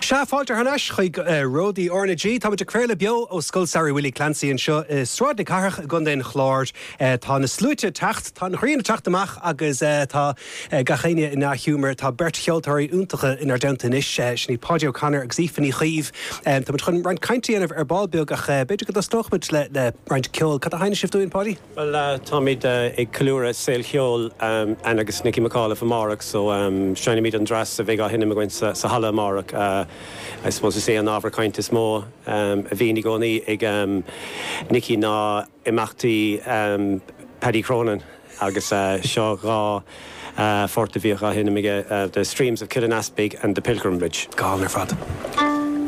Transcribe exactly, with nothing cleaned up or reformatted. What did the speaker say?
Sea, fáilte thar n-ais chuig Ródaí R na G. Táimid ag craoladh beo ó Scoil Samhraidh Willie Clancy anseo i Sráid na Cathrach i gContae an Chláir. Tá na sluaite ag teacht, tá an ghrian ag teacht amach agus tá gach éinne i ndea-ghiúmar. Tá beirt cheoltóirí iontacha inár dteannta anois, sin iad Paudie O'Connor agus Aoife Ní Chaoimh. Táimid chun roinnt cainte a dhéanamh ar ball beag ach b'fhéidir go dtosnódh muid le le roinnt ceoil. Cad a sheinneann sibh dúinn, Paudie? Well táimid ag ceiliúradh saol cheoil Anne agus Nicky McAuliffe amárach so seinnimid an dreas a bheidh á sheinm againn sa sa halla amárach. I suppose is é an ábhar cainte is mó a bhíonn i gcónaí ag Nicky ná imeachtaí Paddy Cronin agus seo dhá phort a bhíodh á sheinm aige, The Streams of Killenaspig and The Pilgrimage. Go hálainn ar fad.